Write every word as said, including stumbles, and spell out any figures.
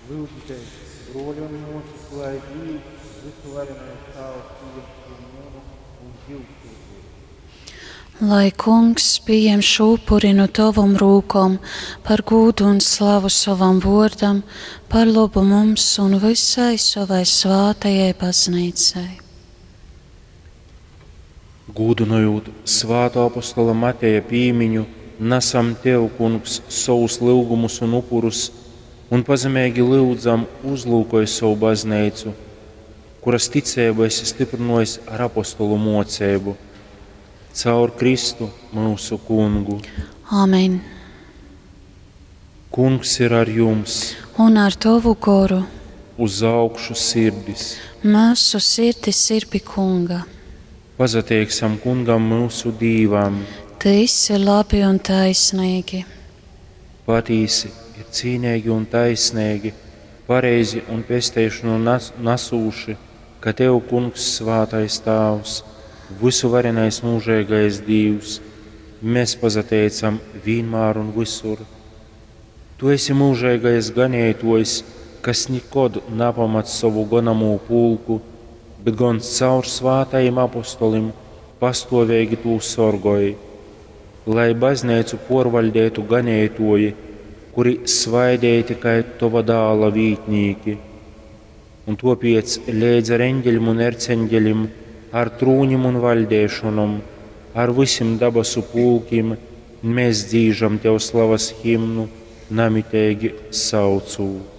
Lyudzitēs, bruoļi un muosys, lai Dīvs, vysuvarenais Tāvs, pījem šū munu un jyusu upuri. Lai Kungs pījem šo upuri nu tovom rūkom par gūdu un slavu sovam vuordam, par lobu mums un vysai sovai svātajai bazneicai. Gūdynojūt svātō apostola Mateja pīmiņu, nasam Tev, Kungs, sovus lyugumus un upurus un pazemeigi lyudzam, uzlūkoj sovu Bazneicu, kuras ticeibu esi styprynōjis ar apostolu mōceibu. Caur Kristu, myusu Kungu. Āmen. Kungs ir ar jums! Un ar tovu goru. Uz augšu sirdis! Myusu sirdis ir pi Kunga. Pasateiksim Kungam, myusu Dīvam! Tys ir labi un taisnīgi. Patīsi ir cīneigi un taisneigi, pareizi un pesteišonu nas nasūši, ka Tev, Kungs, svātais Tāvs, vysuvarenais myužeigais Dīvs, mēs pasateicam vīnmār un visur. Tu esi myužeigais ganeituojs, kas nikod napamat sovu gonamū pulku, bet gon caur svātajim apostolim pastuoveigi tū sorgoj. Lai bazneicu puorvaļdeitu ganeituoji, kuri svaideiti kai tova dāla vītnīki. Un tuopiec leidz ar eņģeļim un erceņģeļim, ar trūņim un vaļdeišonom, ar vysim dabasu pulkim, mēs dzīžam Tev slavas himnu, namiteigi saucūt.